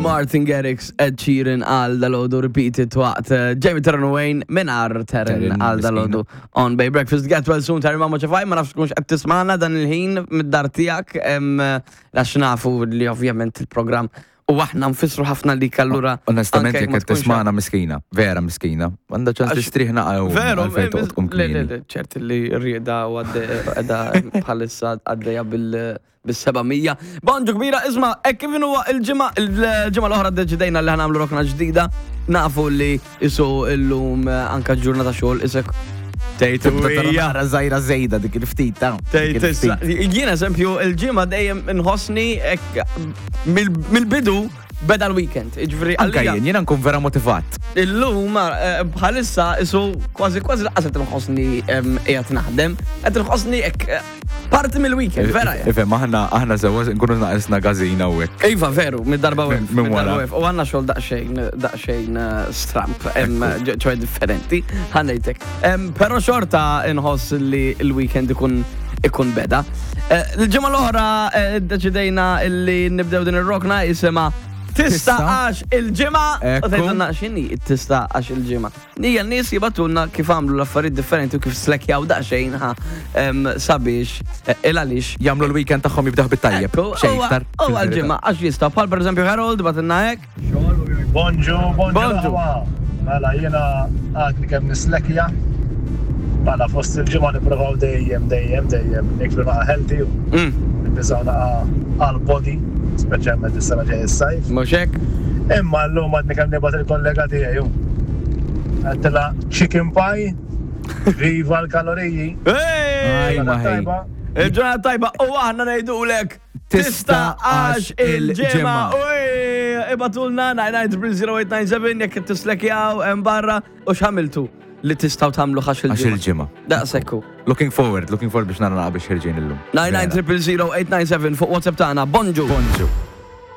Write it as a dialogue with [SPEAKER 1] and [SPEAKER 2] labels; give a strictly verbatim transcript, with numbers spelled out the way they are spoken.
[SPEAKER 1] Martin Garrix, Ed Sheeran għal dalgħodu, repeated waqt eh, Jamie Taryn Wayne mingħajr Taryn
[SPEAKER 2] Taryn,
[SPEAKER 1] għal dalgħodu on Bay Breakfast. Get well soon, Taryn, mamma ċafaj, ma nafx tkunx qed tismagħna dan il-ħin mid-dar tiegħek, em, għax nafu li ovvjament il-programm u aħna nfissru ħafna li allura.
[SPEAKER 2] Onestament,
[SPEAKER 1] anke
[SPEAKER 2] jekk
[SPEAKER 1] ma
[SPEAKER 2] qed
[SPEAKER 1] tkunx
[SPEAKER 2] tismagħna, miskina, vera miskina. Għandha ċans
[SPEAKER 1] Għax-
[SPEAKER 2] tistrieħ naqra u
[SPEAKER 1] Veru,
[SPEAKER 2] għalfejn toqgħod tqum
[SPEAKER 1] le, le,
[SPEAKER 2] kmieni.
[SPEAKER 1] le, ċert li rrieda u għadda bħalissa għaddeja bil bil-seba' mija. Bonġu kbira, isma', e kif huwa il-ġimgħa, il-ġimgħa l-oħra deċidejna li ħa nagħmlu rokna ġdida. Nafu li isu illum eh, anka ġurnata xogħol isek tgħid
[SPEAKER 2] Tibda tara naqra żgħira żejda dik il-ftit ta' dik
[SPEAKER 1] Tgħid issa.
[SPEAKER 2] il-ftit.
[SPEAKER 1] Jien eżempju il-ġimgħa dejjem inħossni hekk mill- mill-bidu beda l-weekend. Jiġifieri
[SPEAKER 2] Anka
[SPEAKER 1] għalija-
[SPEAKER 2] jien, jiena nkun vera motivat.
[SPEAKER 1] Illum eh, bħalissa isu kważi kważi lanqas qed inħossni em, qiegħed naħdem, qed inħossni hekk eh, parti mill-weekend, vera. ja.
[SPEAKER 2] Ifhem, aħna aħna sewa nkunu naqisna gażina u hekk.
[SPEAKER 1] Iva, veru, mid-darba
[SPEAKER 2] Minn-
[SPEAKER 1] wef.
[SPEAKER 2] minn
[SPEAKER 1] mid-darba
[SPEAKER 2] wara.
[SPEAKER 1] wef. U għandna xogħol daqsxejn, daqsxejn eh, stramp, em, ġ- ċoè differenti, ħa ngħidlek. Em, Però xorta inħoss li l-weekend ikun ikun beda. Eh, Il-ġimgħa l-oħra eh, deċidejna illi nibdew din ir-rokna jisimha Tista
[SPEAKER 2] Tista.
[SPEAKER 1] għax il-ġimgħa. U
[SPEAKER 2] Ekku.
[SPEAKER 1] tgħidulna x'inhi tista għax il-ġimgħa. Nija n-nies jibagħtulna kif għamlu l-affarijiet differenti u kif slekjaw daqsxejn ħa em, sabiex eh, il għaliex
[SPEAKER 2] Jagħmlu l-weekend tagħhom jibdaħ bit-tajjeb.
[SPEAKER 1] Ekku,
[SPEAKER 2] Xejn
[SPEAKER 1] huwa-
[SPEAKER 2] iktar.
[SPEAKER 1] Huwa l-ġimgħa għax jista' bħal pereżempju Harold bagħtilna hekk.
[SPEAKER 3] Bonġu, bonġu.
[SPEAKER 1] Bonġu.
[SPEAKER 3] Aħwa. Mela, jiena għadni kemm nislekja. Mela, fost il-ġimgħa nipprovaw dejjem, dejjem, dejjem niklu naqa healthy u
[SPEAKER 1] Mm,
[SPEAKER 3] nibbiżaw naqa għal-body, speċjalment is-sena ġej is-sajf.
[SPEAKER 1] Mhux hekk?
[SPEAKER 3] Imma llum għadni kemm nibgħat il-kollega tiegħi. hu. Għedtilha chicken pie, viva l-kaloriji.
[SPEAKER 1] Hey!
[SPEAKER 2] Aj, ma ħej.
[SPEAKER 3] Tajba.
[SPEAKER 1] Il-ġurnata tajba u aħna ngħidulek tista għax il-ġimgħa. Uj, ibagħtulna nine nine zero zero eight nine seven jekk tislekjaw hemm barra u x'għamiltu li tistgħu tagħmlu għax
[SPEAKER 2] Għax
[SPEAKER 1] il-ġimgħa.
[SPEAKER 2] il-ġimgħa.
[SPEAKER 1] Daqshekk hu.
[SPEAKER 2] Looking forward, looking forward biex nara naqra biex ħerġin illum.
[SPEAKER 1] nine nine zero zero eight nine seven fuq WhatsApp tagħna. Bonġu.
[SPEAKER 2] Bonġu.